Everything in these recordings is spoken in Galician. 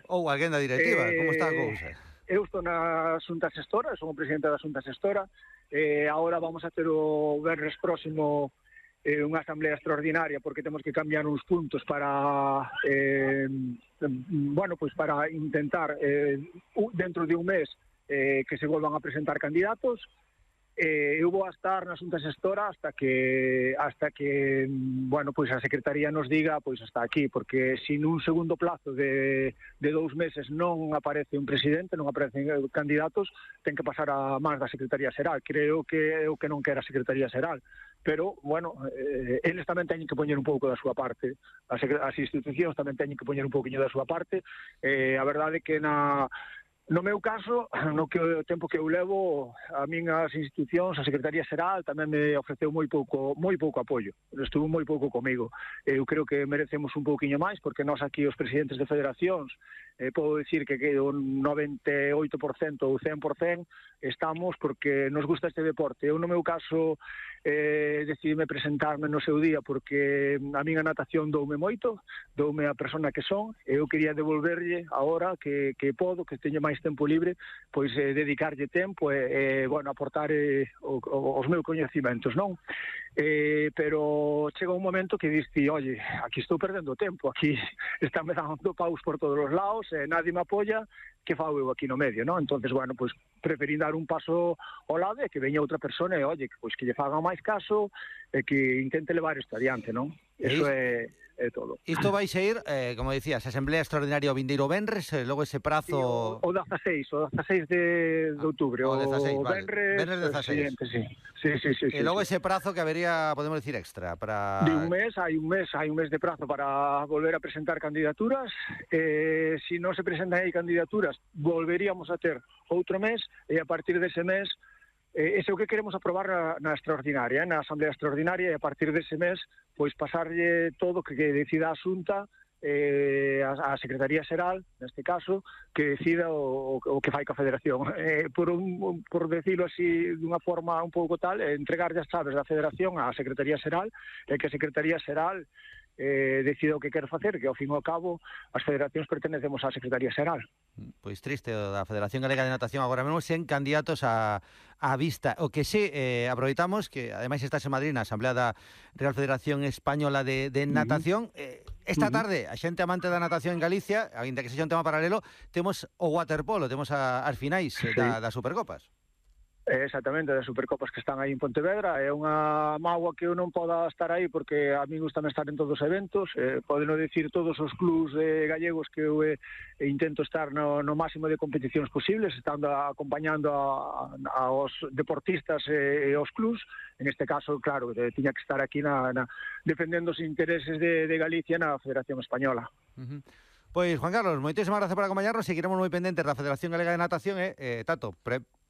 Ou alguén da directiva, como está a cousa? Eu estou na Xunta Xestora, son o presidente da Xunta Xestora. Agora vamos a ter o venres próximo unha asamblea extraordinaria porque temos que cambiar uns puntos para para intentar dentro de un mes que se volvan a presentar candidatos. Eu vou a estar na Xunta Xestora hasta que a Secretaría nos diga hasta aquí, porque se nun segundo plazo de 2 meses non aparece un presidente, non aparecen candidatos, ten que pasar a máis da Secretaría Xeral. Creo que é o que non quere a Secretaría Xeral, pero, eles tamén teñen que poñer un pouco da súa parte, as institucións tamén teñen que poñer un pouquiño da súa parte. A verdade é que no meu caso, no tempo que eu levo, a min as institucións, a Secretaría Xeral tamén me ofreceu moi pouco apoio. Estuvo moi pouco comigo. Eu creo que merecemos un pouquiño máis, porque nós aquí os presidentes de federacións, podo dicir que o 98% ou 100% estamos porque nos gusta este deporte. Eu no meu caso decidime presentarme no seu día porque a min a natación doume moito, doume a persona que son, e eu quería devolverlle agora que podo, que teño máis tempo libre, pois dedicarlle tempo e aportar os meus coñecimentos, non? Pero chega un momento que diste, oye, aquí estou perdendo tempo, aquí están me dando paus por todos os lados, nadie me apoia, que fago eu aquí no medio, non? Entonces, preferí dar un paso ao lado e que veña outra persona e, oye, que lle faga máis caso e que intente levar isto adiante, non? Eso é todo. Isto vai ir, como dicías, a Asamblea Extraordinaria o vindeiro venres, logo ese prazo... O 16 de outubro. O 16, vale. Venres 16. Sí. E logo ese prazo que habería, podemos decir, extra para... De un mes, hai un mes de prazo para volver a presentar candidaturas. Se non se presentan aí candidaturas, volveríamos a ter outro mes, e a partir dese mes, ese é o que queremos aprobar na extraordinaria, na Asamblea Extraordinaria, e a partir dese mes, pois pasarlle todo que decida a Xunta, a Secretaría Xeral, neste caso, que decida o que fai ca Federación. Por decirlo así, dunha forma un pouco tal, entregarlle as chaves da Federación á Secretaría Xeral, e que a Secretaría Xeral decida o que quer facer, que ao fin e ao cabo as federacións pertenecemos á Secretaría Xeral. Pois triste o da Federación Galega de Natación agora mesmo sen candidatos á vista. O que sí, aproveitamos que ademais estás en Madrid na Asamblea da Real Federación Española de Natación. Esta tarde, a xente amante da natación en Galicia, ainda que sexa un tema paralelo, temos o waterpolo, temos as finais das Supercopas. Exactamente, das Supercopas que están aí en Pontevedra. É unha mágoa que eu non poda estar aí porque a mí gustame estar en todos os eventos. Podeno dicir todos os clubs gallegos que eu intento estar no máximo de competicións posibles, estando acompañando aos deportistas e aos clubs. En este caso, claro, tiña que estar aquí defendendo os intereses de Galicia na Federación Española. Pois, Juan Carlos, moitísimas gracias por acompañarnos. Seguiremos moi pendentes da Federación Galega de Natación Tato,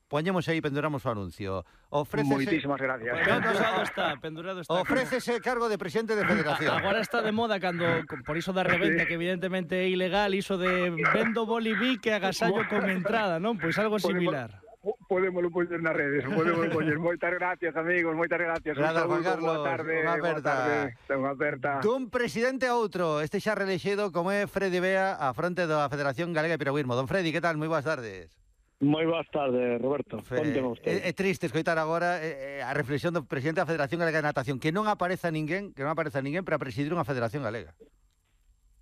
poñemos aí, penduramos o anuncio. Moitísimas gracias. Pendurado está. Ofrécese cargo de presidente de federación. Agora está de moda cando, por iso da reventa, que evidentemente é ilegal, iso de vendo boliví que agasallo con entrada, non? Pois algo similar. Podémoslo poñer nas redes, Moitas gracias, amigos, moitas gracias. Gracias, Juan Carlos. Boa tarde. Unha aperta. Dun presidente a outro, este xa reelexido como é Freddy Bea a fronte da Federación Galega de Piragüismo. Don Freddy, que tal? Moi boas tardes. Moi boas tardes, Roberto. É triste escoitar agora a reflexión do presidente da Federación Galega de Natación, que non apareza ninguén para presidir unha federación galega.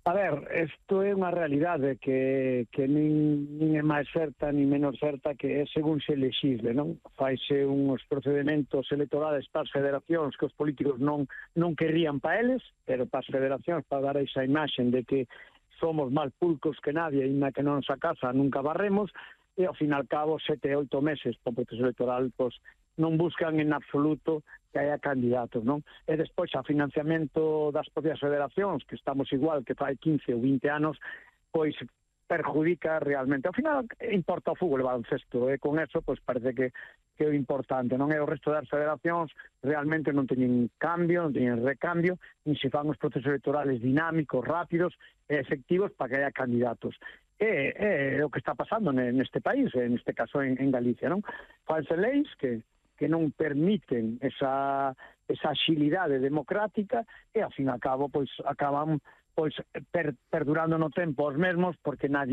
A ver, isto é unha realidade que nin é máis certa nin menos certa, que é según se legisle, non? Faise uns procedementos electorales para as federacións que os políticos non querrían para eles, pero para as federacións para dar esa imaxen de que somos máis pulcos que nadie e na que non sa casa nunca barremos. E, ao fin e ao cabo, 7 e 8 meses para o proceso electoral, pois, non buscan en absoluto que haya candidatos, non? E despois, a financiamento das propias federacións, que estamos igual que fai 15 ou 20 anos, pois perjudica realmente. Ao final, importa o fútbol e baloncesto, e con eso, pois, parece que é o importante, non? E o resto das federacións realmente non teñen cambio, non teñen recambio, nin se fan os procesos electorales dinámicos, rápidos e efectivos para que haya candidatos. É o que está pasando neste país, neste caso en Galicia, non? Fanse leis que non permiten esa axilidade democrática e, ao fin e ao cabo, pois acaban perdurando no tempo os mesmos porque nadie